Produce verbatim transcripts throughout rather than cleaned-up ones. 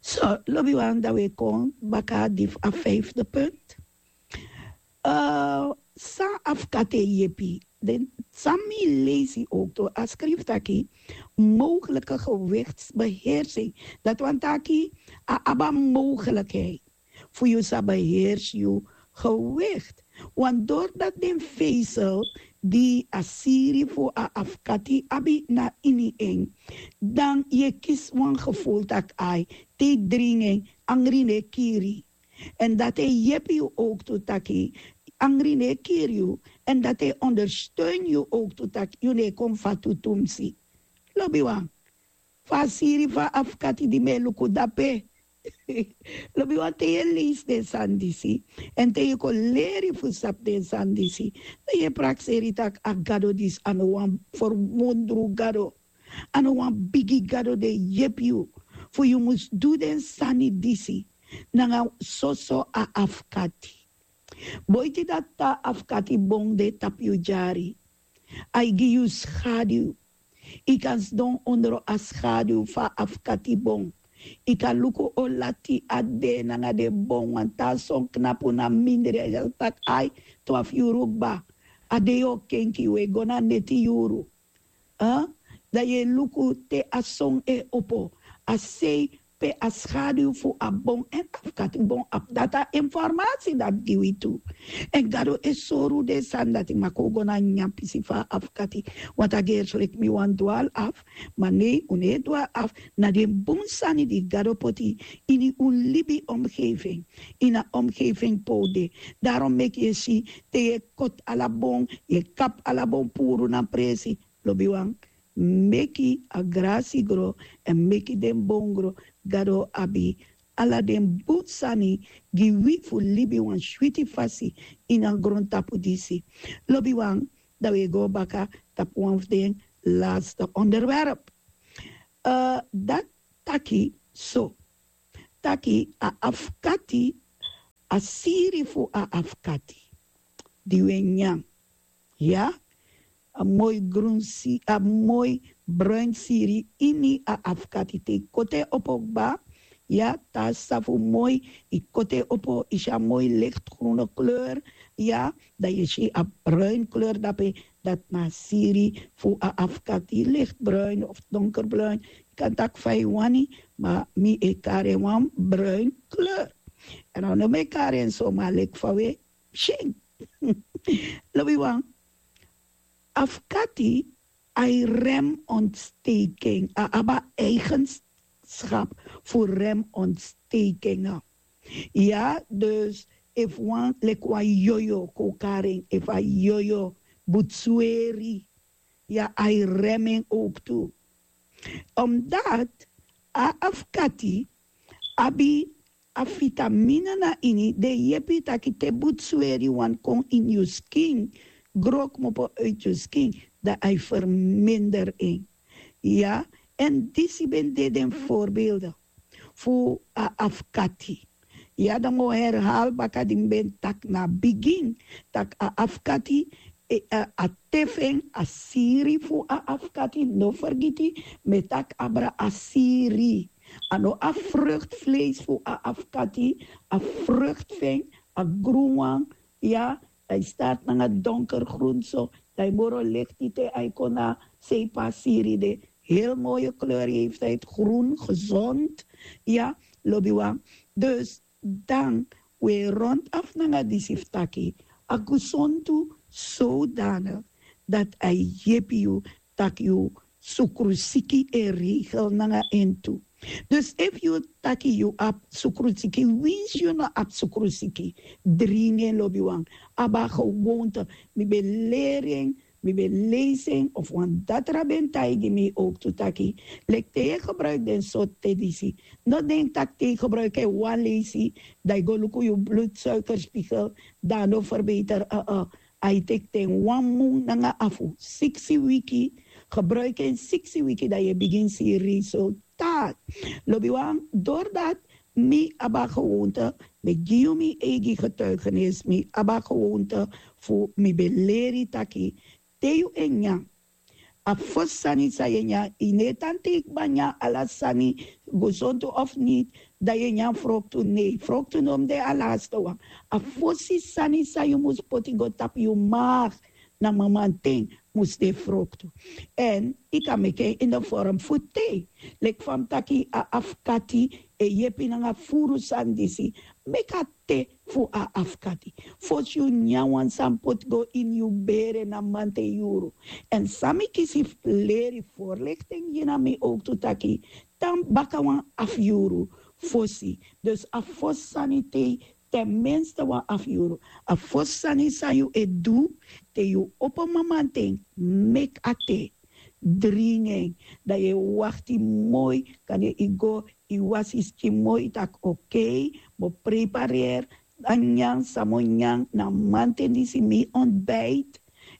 So, lobi wan, dan we kon baka di fu a vijfde punt. Eh, san afkati e yepi den? San mi leisi ook tu a skrif taki mogelijke gewichtsbeheersing. Dat wan taki a aba mogelijkheid fu yu sa beheersi yu gewicht. Want doordat den vezel di a siri fu a afkati abi na ini en, dan ye kisi wan gevoel taki ai, te yu dringi en, angri no e kiri. En dat e yepi yu ook tu taki angri no e kiri yu. En dat e ondersteun yu ook tu taki yu no e kon fatu tumsi. Lobi wan, fu a siri fu a afkati di mi e luku dape. Lobi wan, te yu e leisi den sani disi, en te yu kon leri fu sabi den sani disi, dan yu e prakseri taki a gado disi a no wan ferwondru gado. A no wan bigi gado di e yepi yu fu yu mus du den sani disi nanga soso a afkati. Boiti dati, te a afkati bon de tapu yu dyari, ai gi yu skadiw. Yu kan sidon ondro a skadiw fu a afkati bon. Yu kan luku o lati a de nanga den bon, wan taa son knapu na mindri, a yere taki ai, twafu yuru kba. A de yu o kenki, yu e go na neti yuru. Dan yu e luku te a son e opo, a sei pe a skadiw fu a bon èn afkati bon abi. Dati a informasi dati gi wi tu. Èn Gado e sori un den sani dati, ma kon un go na a nyan pisi fu a afkati. Want a gersi leki mi wani dwali afu, ma nei, un no e dwali afu. Na den bun sani di Gado poti ini un libi omgeving, ini a omgeving pe un de. Daarom meki yu e si, te yu e koti ala bon, yu e kapu ala bon puru na presi. Lobiwan, meki a grasi gro èn meki den bon gro. Gado abi ala den bun sani gi wi fu libi wan switi fasi ini a grontapu disi. Lobiwan, dan wi e go baka tapu wan fu den laste onderwerp. Dati taki so, taki a afkati, a siri fu a afkati di wi e nyan, ya, a moi grun siri, a moi bruin siri ini a afkati. Te yu koti en opo kba, ya, te a safu moi, yu koti en opo, yu si a moi lichtgroene kleur, ya, dan yu si a bruin kleur dape. Dati na a siri fu a afkati, lichtbruin of donkerbruin. Yu kan taki fa yu wani, ma mi e kari en wan bruin kleur. Èn a no mi e kari en so, ma leki fa wi e si en. Lobiwan, afkati, a e rem ontsteking, a abi a eigenschap fu rem ontsteking. Ya, dus efu wan, leki wan yoyo kon kari en, efu a yoyo butsweri, ya, a e rem en ook tu. Omdat a afkati abi a vitamine na ini, di e yepi taki te butsweri wani kon ini yu skin, gro kmopo uit yu skin, dan a e verminder en. Ya, èn disi ben de den voorbeelden fu a afkati. Ya, dan mi o herhaal baka di mi ben taki na bigin, taki a afkati, a te fu en, a siri fu a afkati, no fergiti, mi e taki abra a siri. A no a vruchtvlees fu a afkati, a vrucht fu en, a grun wan, ya, a e start nanga donkergroen so, dan a e moro licht te a e kon na seipa siri de. Heel mooie kleur heeft hij, groen, gezond. Ya, lobiwan. Dus dan wi e rond af nanga disi fu taki a gesond tu zodanig dati a e yepi yu taki yu sukrusiki e regel nanga en tu. Dus efu yu taki yu abi sukrusiki, winsi yu no abi sukrusiki, dringi en, lobiwan. Abi a gewoonte. Mi ben leri en, mi ben leisi en, of wan datra ben taigi mi ook tu taki, leki te yu e gebruiki den sortu te disi, no denki taki te yu gebruiki en wan leisi, dan yu go luku yu bloedsuikerspiegel, dan a no verbeter. A e teki ten wan mun nanga afu, siksi wiki. Gebruiki en siksi wiki, dan yu e bigin si resultaat. Lobiwan, doordat mi abi a gewoonte, mi e gi yu mi eigi getuigenis, mi abi a gewoonte fu mi ben leri taki te yu e nyan, A fosi sani san yu e nyan, yu no e tan te yu kba nyan ala sani, gesontu of niti, dan yu e nyan froktu. Nei, froktu no mus de a laste wan. A fosi sani san yu mus poti go tapu yu maag na mamanten mus de froktu. Èn yu kan meki en ini de vorm fu tei. Leki fa mi taki, a afkati e yepi nanga furu sani disi. Meki a te fu a afkati. Fosi yu nyan wan sani poti go ini yu bere na manten yuru. Èn san mi kisi fu leri, voorlichting gi na mi owktu taki, tan baka wan afu yuru fosi. Dus a fosi sani tei, ten minste wan afu yuru. A fosi sani san yu e du te yu opo mamanten, meki a te, dringi en. Dan yu e wakti moi, kande yu go, yu wasi yu skin moi, yu taki: "Okei, mi o prepareri a nyan san mi o nyan na mamanten disi, mi ontbijt."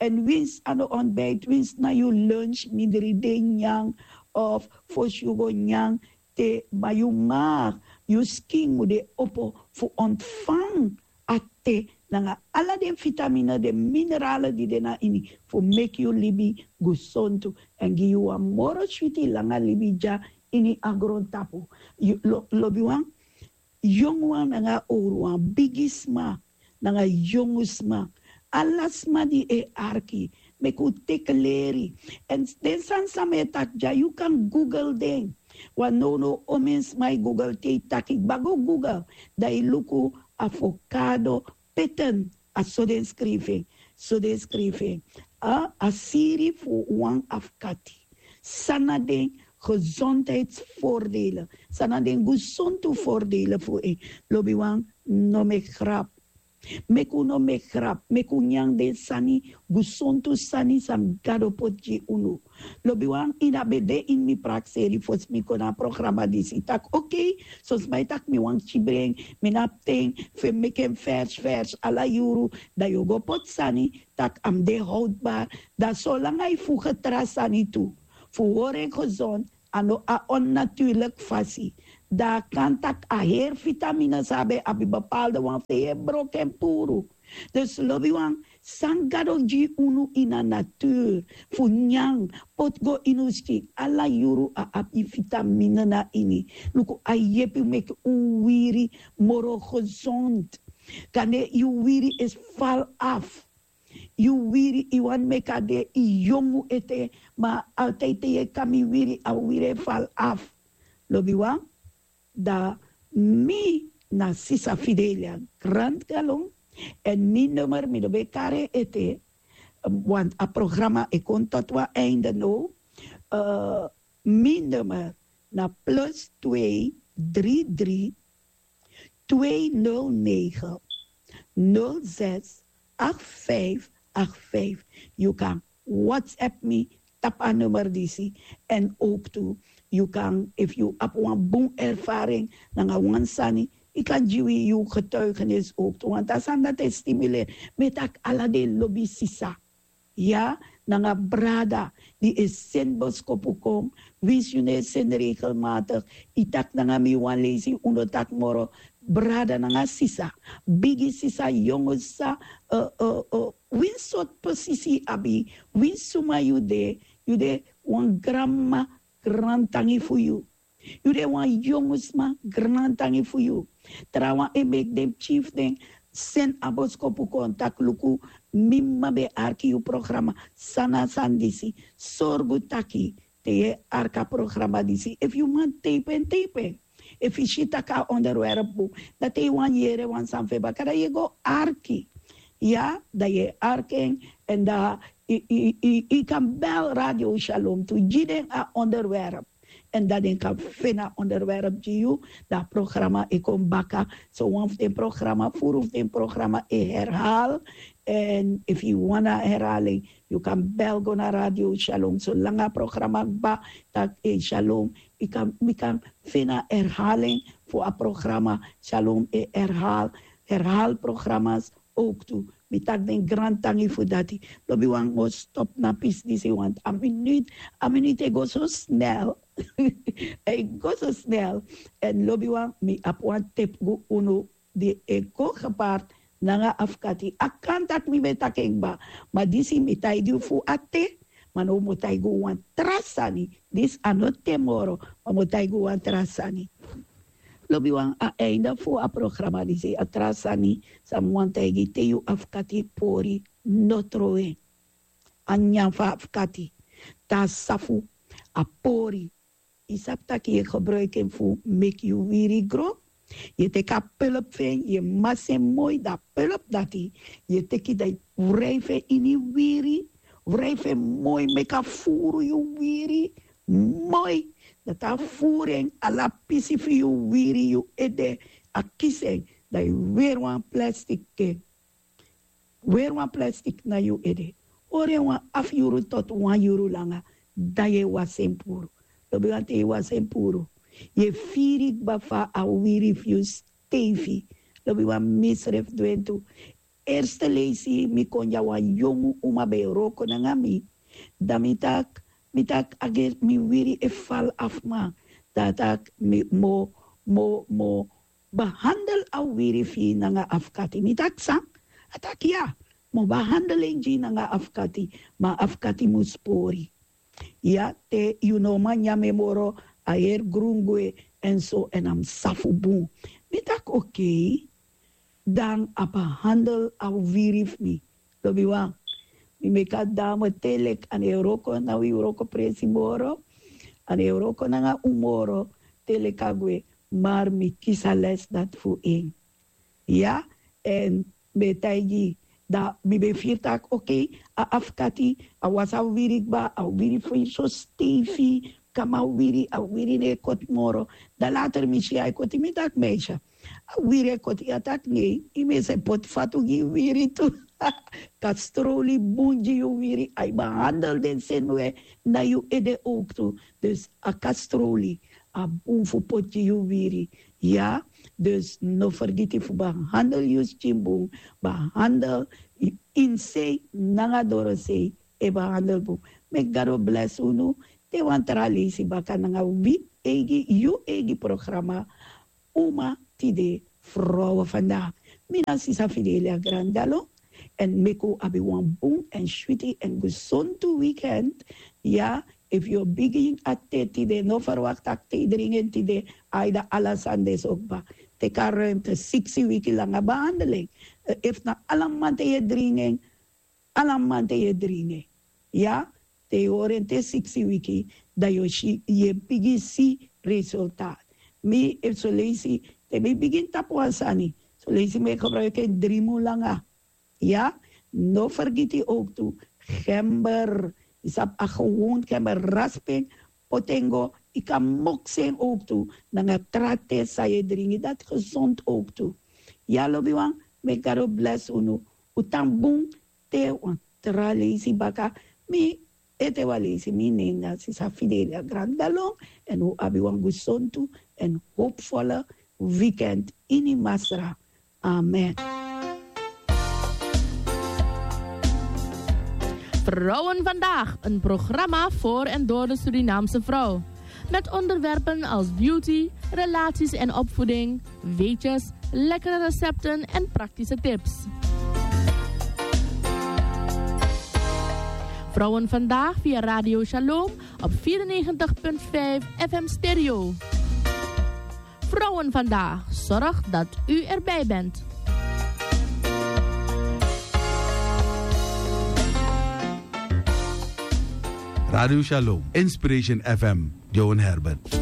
Èn winsi a no ontbijt, winsi na yu lunch mindri de nyan, of fosi yu go nyan te, ma yu maag, yu skin mu de opo fu ontfang a te nanga ala den vitamine, den minerale di de na ini, fu meki yu libi gesontu èn gi yu wan moro switi langa libi dya ini a grontapu. Yu lo-, lobiwan, yonguwan nanga owruwan, bigisma nanga yongu sma, ala sma di e arki, meki un teki leri. Èn den sani san mi e taki dya, yu kan google den. Wan nownow omeni sma e google. Te yu taki kba go google, dan yu luku avocado pitten. A so den skrifi en, so den skrifi en. A, a siri fu wan afkati. San na den gezondheidsvoordelen? San na den gesontu voordelen fu en? Lobiwan, no meki grap. Meki un no meki grap. Meki un nyan den sani, gesontu sani san Gado poti gi unu. Lobiwan, yu na ben de ini mi prakseri fosi mi kon na a programa disi. Taki: "Okei, son sma e taki mi wani kibri en, mi no abi ten fu meki en vers vers ala yuru." Dan yu o go poti sani taki a mus de houdbar. Dan solanga yu fuge tra sani tu fu hori en gezond, a no a onnatuurlijk fasi. Dan a kan taki a heri vitamine san a ben abi, bepaalde wan fu den yu e broko en puru. Dus lobiwan, san Gado gi unu ini a natuur fu nyan, poti go ini un skin, ala yuru a abi vitamine na ini. Luku, a yepi meki un wiri moro gezond. Kande yu wiri e val af. Yu wiri, yu wani meki a de yu yongu ete, ma altijd te yu e kami wiri, a wiri e val af. Lobiwan, dan mi na sisa Fidelia Grant Galon, èn mi nummer mi no ben kari en ete, want a programa e kon tot wan einde now. Eh, mi nummer na plus twee drie drie, twee nul negen, nul zes, acht vijf acht vijf. Yu kan WhatsApp mi tapu a nummer disi. Èn owktu, yu kan, efu yu abi wan bun ervaring nanga wan sani, yu kan gi wi yu getuigenis owktu. Want a sani dati e stimuleri. Mi e taki ala den lobi sisa, ya, nanga brada di e seni boskopu kon, winsi yu no e seni regelmatig, yu taki nanga mi wan leisi, un no taki moro. Brada nanga sisa, bigi sisa, yongu sisa, eh, eh, eh, winsi sortu posisi yu abi, winsi suma yu de, yu de wan granmama, grantangi fu yu. Yu de wan yongu sma, grantangi fu yu. Trawan e meki den pikin fu den seni a boskopu kon taki: "Luku, mi mama ben e arki yu programa, san na a sani disi." Sorgu taki te yu e arki a programa disi, efu yu man teipen, teipen. Efu yu si taki a onderwerp bun, dan te yu wani yere wan sani fu en baka, dan yu e go arki. Ya, dan yu e arki en, èn dan yu, yu, yu, yu kan bel Radio Shalom tu, gi den a onderwerp. Èn dan den kan feni a onderwerp gi yu, dan a programa e kon baka. So wan fu den programa, furu fu den programa e herhaal. Èn efu yu wani a herhaling, yu kan bel go na Radio Shalom. Solanga a programa kba, taki: "Ei, Shalom, mi kan, mi kan feni a herhaling fu a programa." Shalom e herhaal, herhaal programma's owktu. Mi taki den grantangi fu dati. Lobiwan, mi o stop na pisi disi, want a minuut, a minuut e go so snel. A e go so snel. Èn lobiwan, mi abi wan tep gi unu di e go gepaard nanga afkati. A kan taki mi ben taki en kba, ma disi mi taigi yu fu a te, Ma now mi o taigi un wan tra sani. Disi a no te moro, ma mi o taigi un wan tra sani. Lobiwan, a einde fu a programa disi, a tra sani san mi wani taigi, te yu afkati pori, no trowe en. A nyan fu a afkati, te a safu, a pori. Yu sabi tak' yu e gebruiki en fu meki yu wiri gro. Yu e teki a pulp fu en, yu e masi en moi, dan a pulp dati yu e teki, dan yu wrijfi en ini yu wiri. Wrijfi en moi, meki a furu yu wiri moi. Dati a furu en, ala pisi fu yu wiri, yu ede, a kisi en. Dan yu weri wan plastik, weri wan plastik na yu ede. Hori en wan afu yuru tot wan yuru langa, dan yu e wasi en puru. Lobiwan, te yu wasi en puru, yu e firi kba fa a wiri fu yu steifi. Lobiwan, misrefi du en tu. Erste leisi mi kon dya, wan yongu uma ben e wroko nanga mi. Dan mi taki, mi taki, a geri mi wiri e fal afu, ma dan a taki mi mo, mo, mo behandel a wiri fu yu nanga afkati. Mi taki san? A taki ya, mi o behandel en gi yu nanga afkati, ma afkati mus pori. Ya, te yu no man nyan en moro, a heri grun gwe, en so, en a mus safu bun. Mi taki okei. Dan a behandel a wiri fu mi. Lobiwan, mi meki a dame te leki a no e wroko na wi wroko presi moro, a no e wroko nanga un moro, te leki a gwe, ma mi kisi a les dati fu en. Ya, èn mi e taigi, dan mi ben firi taki okei, a afkati, a wasi a wiri kba, a wiri fu en so steifi, kaba a wiri, a wiri no e koti moro. Dan later mi si a e koti, mi taki meisje, a wiri e koti. Ya taki nei, yu mesi e poti fatu gi yu wiri tu. Kastroli bun gi yu wiri, a e behandel den seni we na yu ede ook tu. Dus a kastroli a bun fu poti gi yu wiri. Ya, dus no fergiti fu behandel yu skin bun, behandel yu insei nanga dorosei, e behandel bun. Meki Gado blesi unu te wan tra leisi baka nanga wi eigi, yu eigi programa Uma Tide, Vrouwen Vandaag. Mi na sisa Fidelia Grandalo, èn meki un abi wan bun èn switi èn gesontu weekend. Ya, efu yu o bigin a te tide, no ferwakti tak' te yu dringi en tide, a e de ala sani de so kba. Teki a ruimte, siksi wiki langa behandeling. Efu na ala mamanten yu e dringi en, ala mamanten yu e dringi en. Ya, te yu hori en te siksi wiki, dan yu o si, yu e bigin si resultaat. Mi, efu son leisi, te mi bigin tapu wan sani, son leisi mi e gebruiki en dri mun langa. Ya, no fergiti ook tu, gember, yu sabi a gewon gember, raspi en, poti en go, yu kan moksi en ook tu, nanga tra te san yu e dringi, dati gezond ook tu. Ya, lobiwan, meki Gado blesi unu, un tan bun, te wan tra leisi baka, mi ete wan leisi, mi nen na sisa Fidelia Grandalon, èn un abi wan gesontu èn hopvolle weekend ini Masra. Amen. Vrouwen Vandaag, een programma voor en door de Surinaamse vrouw. Met onderwerpen als beauty, relaties en opvoeding, weetjes, lekkere recepten en praktische tips. Vrouwen Vandaag via Radio Shalom op vierennegentig punt vijf F M Stereo. Vrouwen Vandaag, zorg dat u erbij bent. Radio Shalom, Inspiration F M, Johan Herbert.